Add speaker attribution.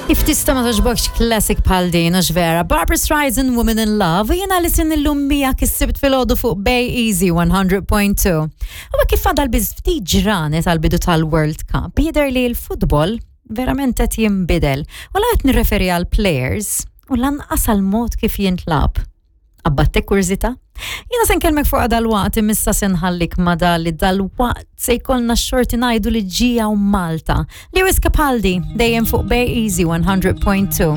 Speaker 1: Kif tista' ma toġbokx classic bħal din, hux vera? Barbra Streisand, Woman in Love, u jiena li sin illum miegħek is-Sibt filgħodu fuq Bay Easy 100.2. U kif fadal biss ftit ġranet għal bidu tal-World Cup, jidher li l-futbol verament qed jinbidel. U la qed nirreferi għal players u lanqas għal mod kif jintlab. Qabbattek kurżità? Jiena se nkellmek fuq dal-waqt imissa se nħallik ma dal li dal-waqt se jkollna x-xorti ngħidu li ġie Malta. Lewis Capaldi dejjem fuq Bay Easy 100.2.